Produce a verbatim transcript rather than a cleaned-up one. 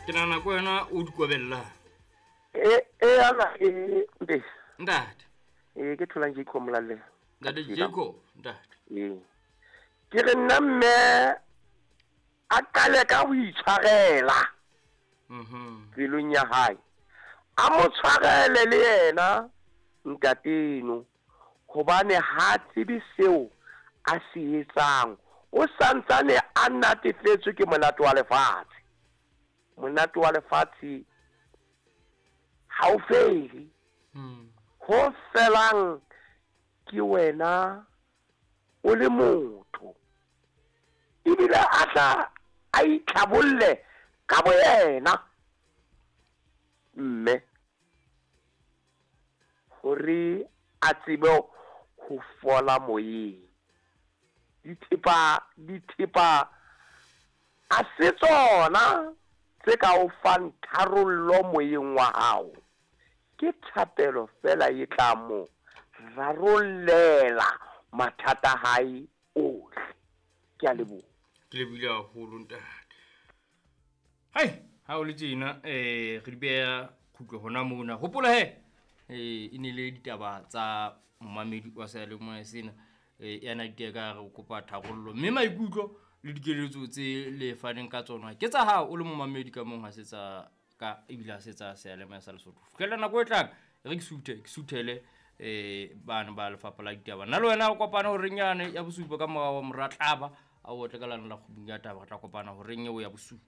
Ke nahana ko wena o di kobellang. E e ana e mpe. Ntate. E ke tholang Jacob Molalle. Ntate Jacob, ntate. E. Ke re nna mme a qale ka ho itshwarela. Mhm. Pelong ya hae. A mo tshwarele le yena ntateno hobane ha tsebe seo a se etsang. O santsane a natefetswe ke monate wa lefatshe. Monate wa lefatshe ha o fele. Hmm. Ho felang ke wena o le motho. Ebile a tla a itlhabolle ka boyena. Mme hore a tsebe ho fola moyeng. Dithepa, dithepa a se tsona tse ka o fang tharollo moyeng wa hao. Ke thapelo fela e tla mo rarollela mathata a hae ohle. Ke a leboha. Ke lebohile haholo ntate. Hai, ha o le tjena, eh, re di beha kgutlo hona mona. Hopola he, eh, e ne le ditaba tsa momamedi wa seyalemoya sena. Eh, ya na diteka re o kopa tharollo. Mme maikutlo le dikeletso tse le faneng ka tsona ke tsa hao o le momamedi ka mong, ha se tsa ka ebile ha se tsa seyalemoya sa Lesotho. Fihlela nako e tlang, re ke suthe, ke suthele, eh, bana ba lefapha la ditaba. Nna le wena re kopane horeng yane ya bosupa ka morao wa mora tlaba, a o otle ka lana la kgubung ya taba, re tla kopana horeng eo ya bosupa.